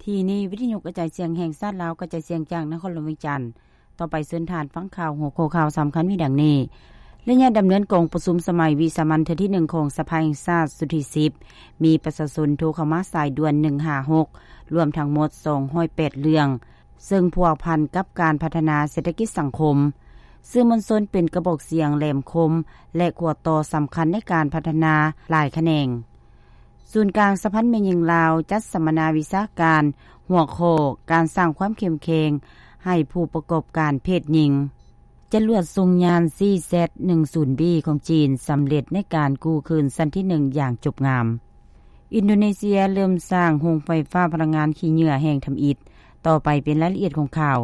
ທີ່ນີ້ ວິທະຍຸກະຈາຍສຽງແຫ່ງຊາດລາວ ກະຈາຍສຽງຈາກນະຄອນຫຼວງວຽງຈັນ. ຕໍ່ໄປເຊີນທ່ານຟັງຂ່າວ ຫົວຂໍ້ຂ່າວສຳຄັນມີດັ່ງນີ້: ໄລຍະດຳເນີນກອງປະຊຸມສະໄໝວິສາມັນເທື່ອທີໜຶ່ງຂອງສະພາແຫ່ງຊາດຊຸດທີສິບ ມີປະຊາຊົນໂທເຂົ້າມາສາຍດ່ວນໜຶ່ງຫ້າຫົກ ລວມທັງໝົດສອງຮ້ອຍແປດເລື່ອງ ເຊິ່ງພົວພັນກັບການພັດທະນາເສດຖະກິດສັງຄົມ. ສື່ມວນຊົນເປັນກະບອກສຽງແຫຼມຄົມ ແລະ ຂົວຕໍ່ສຳຄັນໃນການພັດທະນາຫຼາຍຂະແໜງ. ສູນກາງສະຫະພັນແມ່ຍິງລາວ ຈັດສຳມະນາວິຊາການ ຫົວຂໍ້ ການສ້າງຄວາມເຂັ້ມແຂງໃຫ້ຜູ້ປະກອບການເພດຍິງ. ຈະລວດສົ່ງຍານ ຊີແຊັດໜຶ່ງສູນບີ ຂອງຈີນ ສຳເລັດໃນການກູ້ຄືນຊັ້ນທີໜຶ່ງຢ່າງຈົບງາມ. ອິນໂດເນເຊຍເລີ່ມສ້າງໂຮງໄຟຟ້າພະລັງງານຂີ້ເຫຍື້ອແຫ່ງທຳອິດ. ຕໍ່ໄປເປັນລາຍລະອຽດຂອງຂ່າວ.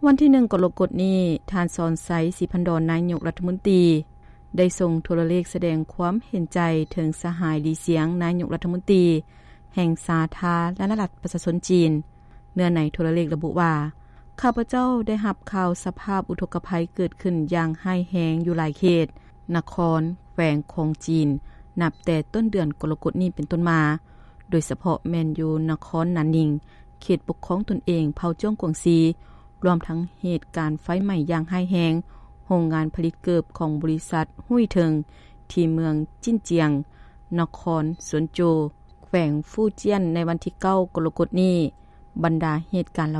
ວັນທີໜຶ່ງ ກໍລະກົດນີ້, ທ່ານ ສອນໄຊ ສີພັນດອນ ນາຍົກລັດຖະມົນຕີ ໄດ້ສົ່ງໂທລະເລກສະແດງຄວາມເຫັນໃຈເຖິງສະຫາຍ ຫຼີ ຊຽງ ນາຍົກລັດຖະມົນຕີແຫ່ງສາທາລະນະລັດປະຊາຊົນຈີນ. ເນື້ອໃນໂທລະເລກລະບຸວ່າ, ຂ້າພະເຈົ້າໄດ້ຮັບຂ່າວສະພາບອຸທົກກະໄພເກີດຂຶ້ນຢ່າງຮ້າຍແຮງຢູ່ຫຼາຍເຂດ, ນະຄອນ, ແຂວງຂອງຈີນ ນັບແຕ່ຕົ້ນເດືອນກໍລະກົດນີ້ເປັນຕົ້ນມາ, ໂດຍສະເພາະແມ່ນຢູ່ນະຄອນໜານນິງ, ເຂດປົກຄອງຕົນເອງເຜົ່າຈວງກວາງຊີ, ລວມທັງເຫດການໄຟໄໝ້ຢ່າງຮ້າຍແຮງ ໂຮງງານຜະລິດເກີບຂອງບໍລິສັດຫຸ້ຍເທິງ ທີ່ເມືອງຈິນຈຽງ, ນະຄອນສວນໂຈ, ແຂວງຟູ້ຈຽນ ໃນວັນທີເກົ້າ ກໍລະກົດນີ້. ບັນດາເຫດການເຫຼົ່າ